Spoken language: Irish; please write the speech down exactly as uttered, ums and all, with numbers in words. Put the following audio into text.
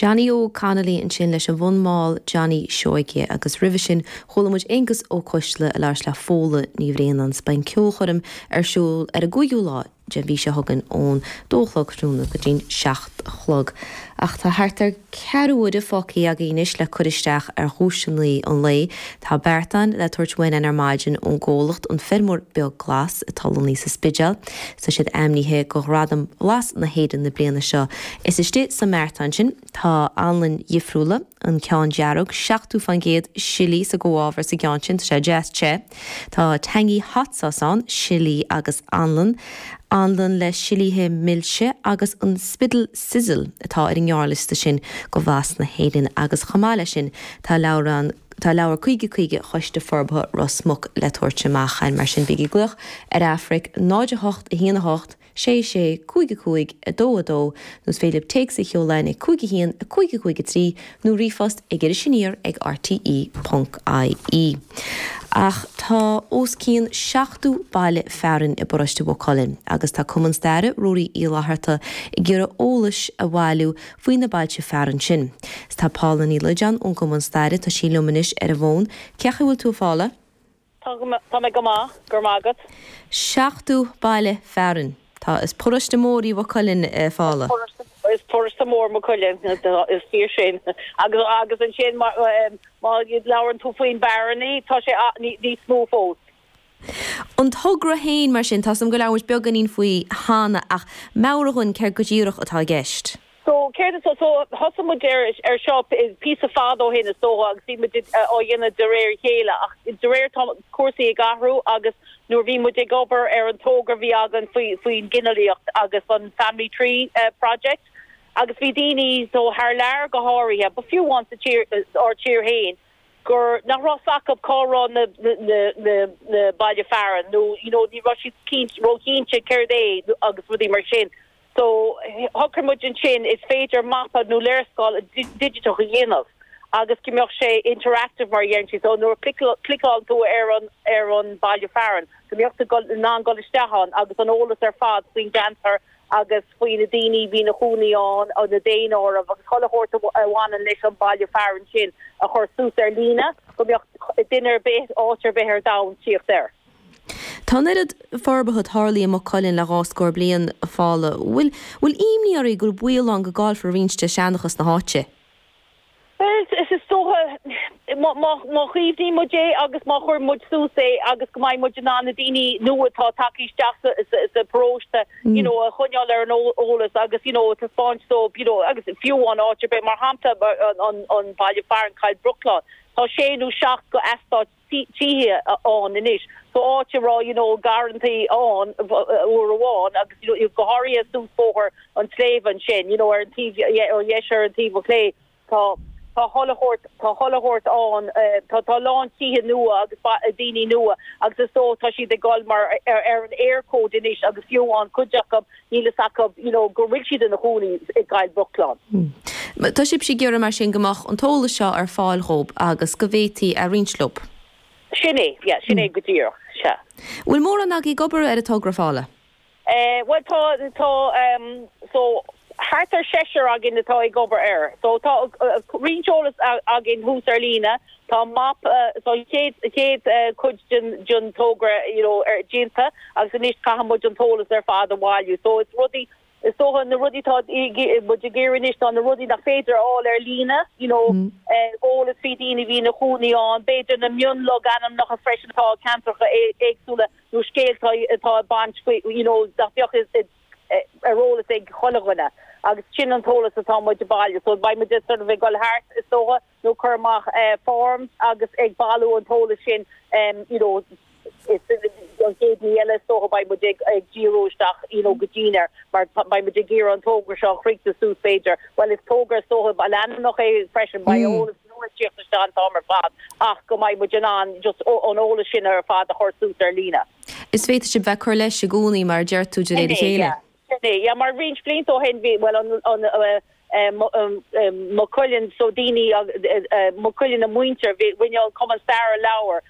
Johnny Óg Connolly ansin leis an bhfonn mall Johnny Seoige agus roimhe sin chuala muid Aengus Ó Coisle ag labhairt le Fódhla Ní Bhraonáin is beidh an ceolchoirm ar siúl ar an gcúigiú lá den mhí seo chugainn ón dó a chlog tráthnóna go dtí'n seacht a chlog. Ach tá thart ar ceathrú uaire fágtha againn anois le cur isteach ar dhuaiseanna an lae. Tá beartán le tabhairt uainn ar maidin ón gcomhlacht an Feirmeoir Beag Glas atá lonnaithe sa Spidéal, Tá siad ainmnithe go Ghradam Bhlas na hÉireann na bliana seo. Is istigh sa mbeartán sin tá anlann dhifriúla an ceann dearg seachtó faoin gcéad sillí sa gcomhábhar sa gceann sin sé deas te. Tá tangy hot sauce ann, sillí agus anlann, anlann le sillíthe milse agus an Spiddal Sizzle atá ar an ngearrliosta sin go Bhlas na hÉireann agus chomh maith leis sin tá leabhrán Tá leabhar caoga caoga Choiste Forbartha Ros Muc le tabhairt amach an mar sin bígí ag glaoch ar Aifric náid a hocht a haon a hocht sé sé cúig a cúig a dó a dó nó is féidir téacs a sheoladh ag cúig a haon a cúig a cúig a trí nó ríomhphost ag Iris Aniar ag RTE.ie. Ach tá os cionn seachtó baile fearainn i bparóiste Mhaigh Cuilinn agus tá Cumann Staire Ruairí Uí Fhlatharta ag iarraidh eolais a bhailiú faoi na bailte fearainn sin. Tá Paula Ní Loideáin ón gCumann Staire tá sí liom anois ar an bhfón, Cén chaoi a bhfuil tú Paula? Tá mé go maith go maith agat. Seachtó baile fearainn. Tá is paróiste mór í Maigh Cuilinn a Phaula. Is paróiste mór Maigh Cuilinn is fíor sin agus agus ansin má labhrann tú faoin barrannaí tá sé níos mó fós. An togra féin mar sin tá sam go leabhar beagáinín faoi cheana ach meabhraigh dúinn céard go díreach atá i gceist. So céard so so thosaigh muid ar ar seo píosa fada ó shin is dócha agus bhí muid á dhéanamh de réir chéile ach de réir tá cúrsaí ag athrú agus nuair bhí muid ag obair ar an togra bhí againn faoi faoin ginealaíocht agus an Family Tree uh, project agus bhí daoine so thar lear go háirithe, ba fiú amháin sa tír ár tír féin gur nach raibh a fhios acu cá raibh na na na na baile fearainn nó you know ní raibh siad róchinnte céard é agus rudaí mar sin. So shocraigh muid ansin is féidir mapa nó léarscáil digiteach a dhéanamh agus go mbeadh sé interactive mar dhéan so nuair cliceáil tú ar an ar an baile fearainn go mbeadh tú in ann dul isteach ann agus an eolas ar fad faoin gceantar agus faoi na daoine bhí ina gcónaí ann an na daonáirimh agus chuile shórt a bhaineann leis an baile fearainn sin a chur suas ar líne go mbeadh duine ar bith áit ar bith ar domhan tíocht air. Tá an oiread forbartha tarlaithe i Maigh Cuilinn le dhá scór bliain a Phaula, bhfuil bhfuil imní oraibh gur baol ann go gcaillfear roinnt de seanchas na háite. Well is is dócha má chaomhnaíonn muid é agus má chuir muid suas é agus go mbeidh muid in ann na daoine nua atá tagtha isteach sa paróiste you know a choinneáil ar an eolas agus you know taispeáint so you know agus fiú an áit ar bith mar shampla an an baile fearainn Cill Brochlán Tá sé nó seacht go eastát tithe ann anois so áit a raibh you know garrantaí ann uair amháin agus you know go háirithe suas bóthar an tsléibhe ansin you know ar an taobh ar dheis ar an taobh clé tá tá chuile shórt tá chuile shórt ann tá tá lán tithe nua agus daoine nua agus is so tá siad ag dul mar ar, ar an Eircode anois agus fiú an cuid acu níl a fhios acu you know go bhfuil siad ina gcónaí i gCill Brochlán. Hmm. Tá sibh ag iarraidh mar sin go mbeadh an t-eolas seo ar fáil dhóibh agus go bhféadfaí a roinnt leo. Sin é yeah, sin é go díreach sea. Bhfuil mórán agaibh ag obair ar an togra Phaula? Eh, well tá tá um, so thart ar seisear againn atá ag obair air. So tá uh, roinnt eolas againn thuas ar líne, Tá map uh, so chéad chéad uh, cuid den den togra you know, ar déanta agus anois caithfidh muid an t-eolas ar fad a bhailiú. So it's rudaí is dócha na rudaí tá muid ag iarraidh anois tá na rudaí nach féidir fháil ar líne you know mm. eolas faoi daoine bhí ina gcónaí ann b'fhéidir na mionlogainmneacha freisin atá ceantracha éagsúla nó scéalta atá baint you know nach mbeadh ar eolas ag chuile dhuine agus sin an t-eolas atá muid ag bailiú so beidh muid sort of ag dul thart is dócha nó cur amach uh, forms agus ag bailiú an t-eolas sin um, you know is an chéad ní eile so beidh muid ag ag díriú isteach you know go dian mar beidh muid ag iarraidh an togra seo chríochnú suas féidir well is togra so a leanúnach é freisin beidh mm. eolas nua isteach an t-am ar fad ach go mbeidh muid in ann just an eolas sin ar fad a chur suas ar líne. Is féidir sibh bheith cur leis i gcónaí mar deir tú de réir a chéile. Ja mar roinnt blianta ó shin bhí well an an Maigh Cuilinn so daoine Maigh Cuilinn na muintir rinne an Cumann Staire leabhar